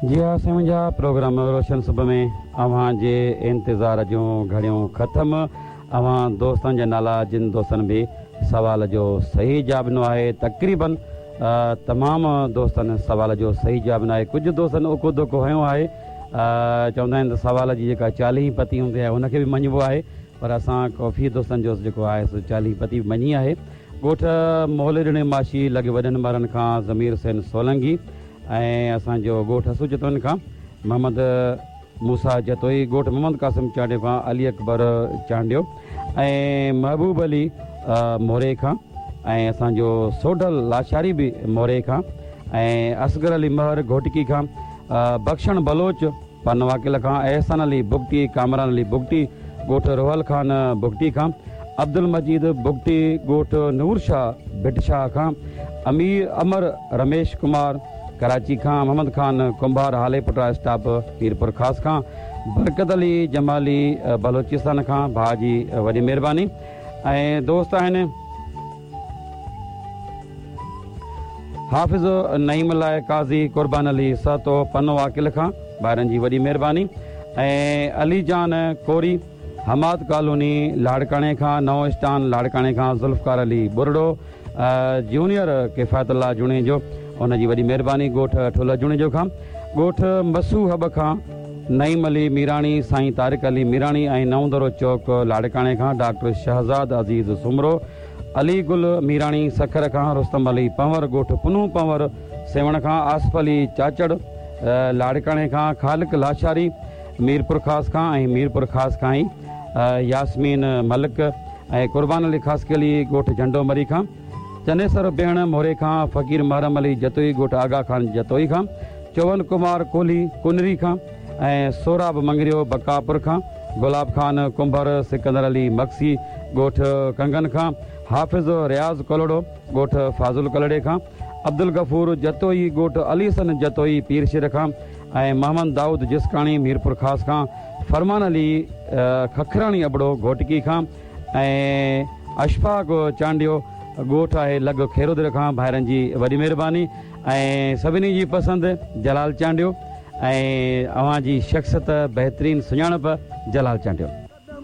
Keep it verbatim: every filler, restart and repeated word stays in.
जी हा साईं मुंहिंजा, प्रोग्राम रोशन सुबह में अव्हां जे इंतज़ार जूं घड़ियूं ख़तमु। अव्हां दोस्तनि जा नाला, जिन दोस्तनि बि सवाल जो सही जवाब ॾिनो आहे, तक़रीबन तमामु दोस्तनि सवाल जो सही जवाब ॾिनो आहे। कुझु दोस्तनि उको धोखो हयो आहे, चवंदा आहिनि त सवाल जी जेका चालीह पती हूंदी आहे हुनखे बि मञिबो आहे, पर असां काफ़ी दोस्तनि जो जेको आहे सो चालीह पती बि मञी आहे। ॻोठ मोहले माशी लॻे वॾनि ॿारनि खां ज़मीर हुसैन सोलंगी ऐं असांजो ॻोठ हसू जतोइन खां मोहम्मद मूसा जतोई, ॻोठ मोहम्मद कासिम चांडियो खां अली अकबर चांडियो ऐं महबूब अली मोरे खां ऐं असांजो सोढल लाशारी बि मोरे खां ऐं असगर अली महर घोटकी खां, बख्शण बलोच पनवाकिल खां, एहसान अली बुगटी, कामरान अली बुगटी ॻोठ रोहल खान बुगटी खां, अब्दुल मजीद बुगटी ॻोठ नूर शाह भिट शाह खां, अमीर अमर रमेश कुमार कराची खां, मोहम्मद खान कुंभार हाले पुटा स्टाप मीरपुर ख़ास खां, बरकत अली जमाली बलोचिस्तान खां, भाउ जी वॾी महिरबानी। ऐं दोस्त आहिनि हाफ़िज़ नईम लाइ काज़ी कुर्बान अली सहतो पनो आकिल खां, ॿारनि जी वॾी महिरबानी। ऐं अली जान कोरी हमाद कॉलोनी लाड़काणे खां, नओं स्टान लाड़काणे खां ज़ुल्फ़कार अली बुरड़ो, जूनियर किफ़ायतुल्लाह जुणेजो उनजी वॾी महिरबानी। ॻोठ ठुल जुणेजो खां, ॻोठ मसू हब खां नईम अली मीराणी, साईं तारिक अली मीराणी ऐं नओं दरो चौक लाड़काणे खां डॉक्टर शहज़ाद अज़ीज़ सुमरो, अली गुल मीराणी सखर खां, रुस्तम अली पंवर ॻोठ पुनू पंवर सेवण खां, आसिफ़ अली चाचड़ लाड़काणे खां, खालिक लाशारी मीरपुर ख़ास खां ऐं मीरपुर ख़ास खां ई यास्मीन मलिक ऐं कुर्बान अली ख़ासकेली ॻोठ झंडो मरी खां, चनेसर बेहण मोरे खां, फ़क़ीर महरम अली जतोई ॻोठ आगा खान जतोई खां, चोवन कुमार कोहली कुनरी खां ऐं सोराब मंगरियो बकापुर खां, गुलाब खान कुंभर, सिकंदर अली मक्सी ॻोठ कंगन खां, हाफ़िज़ रियाज़ कलोड़ो ॻोठ फाज़ुल कलड़े खां, अब्दुल गफ़ूर जतोई ॻोठ अली हसन जतोई पीरशिर खां ऐं मोहम्मद दाऊद जिसकाणी मीरपुर ख़ास खां, फरमान अली खखराणी अबड़ो घोटकी खां ऐं अशफाक चांडियो ॻोठ आहे लॻ खेरोदर खां। भाइरनि जी वॾी महिरबानी ऐं सभिनी जी पसंदि जलाल चांडियो ऐं अव्हां जी शख़्सियत बहितरीन सुञाणप जलाल चांडियो।